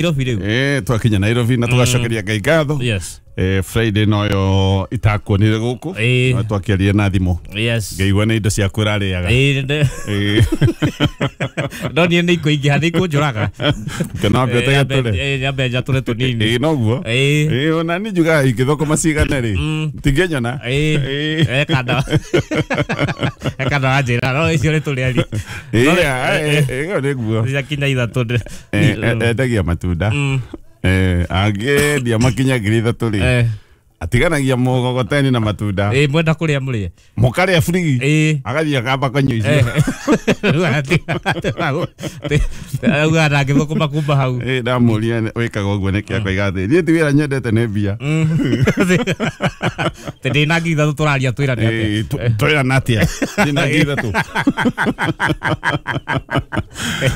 Nairobi rĩu. Twakinya Nairobi na tũgacokeria Ngai ngatho. Yes. Friday noyo itakuonire gũkũ. No twakĩaria na thimũ. Yes. Ngaigua nĩ indo ciaku ũrarĩaga. No niĩ nĩ ikũingĩha nĩ ikũnjũraga. Kana wambe ũtegetũre. Nyambe njatũre tũnini. Noguo. Ona niĩ njugaga ingĩthũkũma cigana rĩ, tingĩnyona. Ekanda. Ekanda wanjĩra no icio nĩ tũrĩari. Ĩyo nĩguo. Ciakinya ithatũ. Endagia matunda. Angĩendia makinya 3,000 rĩ, atiganagia mũgogoteni na matunda. Mwenda kũrĩa mũrĩe. Mũkarĩa free. Agathiĩ akamba kũnyua icio. Auga ndangĩthũkũma kuma hau. Ndamũria wĩkaga ũguo nĩkĩ akoiga atĩ niĩ ti wĩra nyendete nĩ mbia. Tĩ ndĩna 3,000 tũraria twĩrane atĩa. Twĩrana atĩa? Ndĩna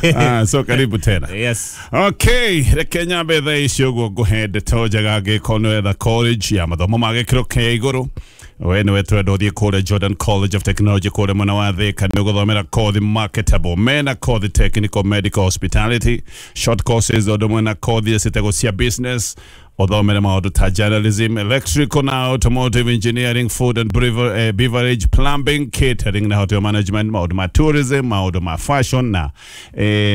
3,000. So karibu tena. Yes. Okay, reke nyambe thaa ici ũguo ngũhe ndeto njega angĩkorwo nĩ wetha college ya mathomo ma gĩkĩro kĩa igũrũ. We nĩwe tũrenda ũthiĩ kũrĩa Jordan College of Technology kũrĩa mwena wa Thika nĩ ũgũthomera kothi marketable. Mena kothi technical, medical, hospitality, short courses ũndũ ũmwe na kothi ciĩtagwo cia business. Ũthomere maũndũ ta journalism, electrical na automotive engineering, food and beverage, plumbing, catering na hotel management, maũndũ ma tourism, maũndũ ma fashion na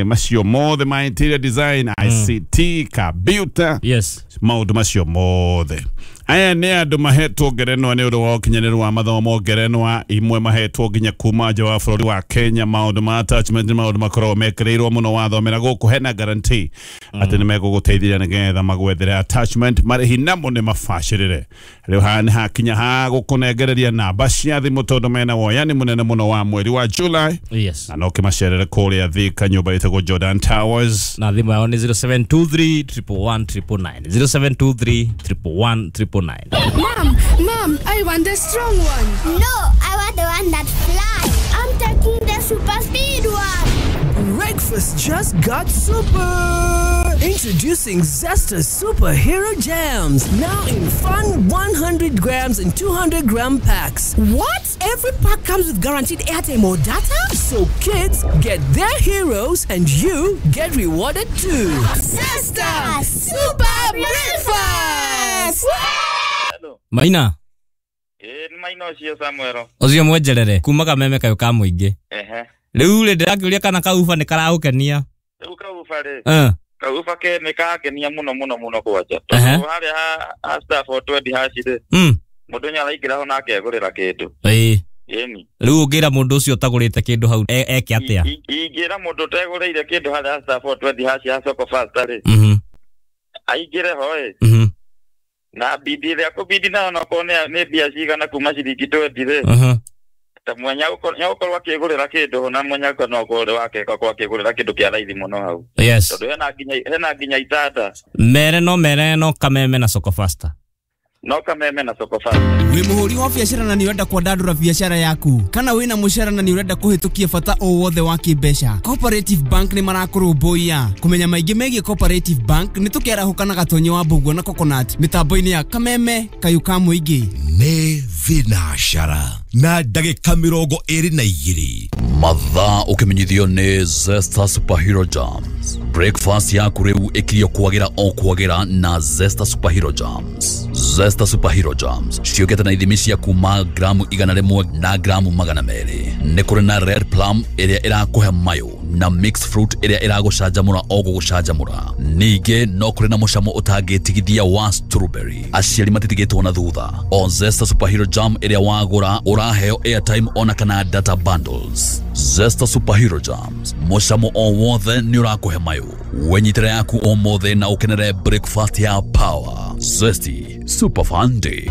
macio mothe ma interior design, ICT, computer. Yes. Maũndũ macio mothe. Aya nĩ andũ mahetwo ngerenwa nĩ ũndũ wa ũkinyanĩru wa mathomo, ngerenwa imwe mahetwo nginya kuma nja wa bũrũri wa Kenya. Maũndũ ma attachment nĩ maũndũ makoragwo mekĩrĩirwo mũno wathomera gũkũ, hena guarantee atĩ nĩ megũgũteithia nĩgetha magwethere attachment, marĩhi namo nĩ mabacĩrĩre. Rĩu haha nĩ hakinya ha gũkũnengereria namba cia thimũ tondũ mena woyani mũnene mũno wa mweri wa July. Yes. Na no kĩmacerere kũrĩa Thika nyũmba ĩtagwo Jordan Towers. Na thimũ yao nĩ 0723 111 999, 0723 111 999. Mom, I want the strong one. No, I want the one that flies. I'm taking the super speed one. Breakfast just got super. Introducing Zesta Superhero Jams, now in fun 100 grams and 200 gram packs. What? Every pack comes with guaranteed airtime or data? So kids get their heroes and you get rewarded too. Zesta Super Breakfast! Maina. Nĩ Maina ũcio Samuel. Ũcio mwenjerere kuma kameme kayũ ka mũingĩ. Rĩu rĩ ndĩrakĩũria kana kauba nĩ karagũkenia. Rĩu kauba rĩ. Kauba ke nĩ kangenia mũno mũno mũno kwanja. Tondũ harĩa ha star 420 hash rĩ. Mũndũ nĩ araingĩra ho na akegũrĩra kĩndũ. Ĩni. Rĩu ũngĩra mũndũ ũcio ũtagũrĩte kĩndũ hau eke atĩa? Ingĩra mũndũ ũtegũrĩire kĩndũ harĩa star 420 hash ya Soko Fasta rĩ. Aingĩre ho ĩ. Na bidi ĩrĩa kũbidi nayo onokorwo nĩ mbia cigana kuma ciringi 20 rĩ. Ta mwenya gũkorwo akĩgũrĩra kĩndũ na mwenya no ũkorwo wake akorwo akĩgũrĩra kĩndũ kĩa raithi mũno hau. Yes. Tondũ hena nginya itanda. Mere no kameme na Soko Fasta. No kameme na Soko Fasta. Wĩ mũhũri wa biacara na nĩ ũrenda kwandandũra biacara yaku, kana wĩna mũcara na nĩ ũrenda kũhĩtũkia bata o wothe wa kĩmbeca, Cooperative Bank nĩ marakũrũmbũiya. Kũmenya maingĩ megiĩ Cooperative Bank nĩ tũkĩarahũka na Gatonyo wa Mbũguo na Coconut mĩtambo-inĩ ya Kameme kayũ ka mũingĩ. Nĩ thinacara na ndagĩka 22. Mathaa ũkĩmenyithio nĩ Zesta Superhero Jams. Breakfast yaku rĩu ĩkirio kwagĩra o kwagĩra na Zesta Superhero Jams. Zesta Superhero Jams ciũkĩte na ithimi cia kuma gramu 100 na gramu 200. Nĩ kũrĩ na red plum ĩrĩa ĩrakũhe mayũ na mixed fruit ĩrĩa ĩragũcanjamũra o gũgũcanjamũra. Ningĩ no kũrĩ na mũcamo ũtangĩtigithia wa strawberry. Aciari matitigĩtwo na thutha. O Zesta Superhero Jam ĩrĩa wagũra ũraheo airtime ona kana data bundles. Zesta Superhero Jams, mũcamo o wothe nĩ ũrakũhe mayũ. Wenyitĩre yaku ũmũthĩ na ũkenere breakfast ya power. Zesty Super Fun Day.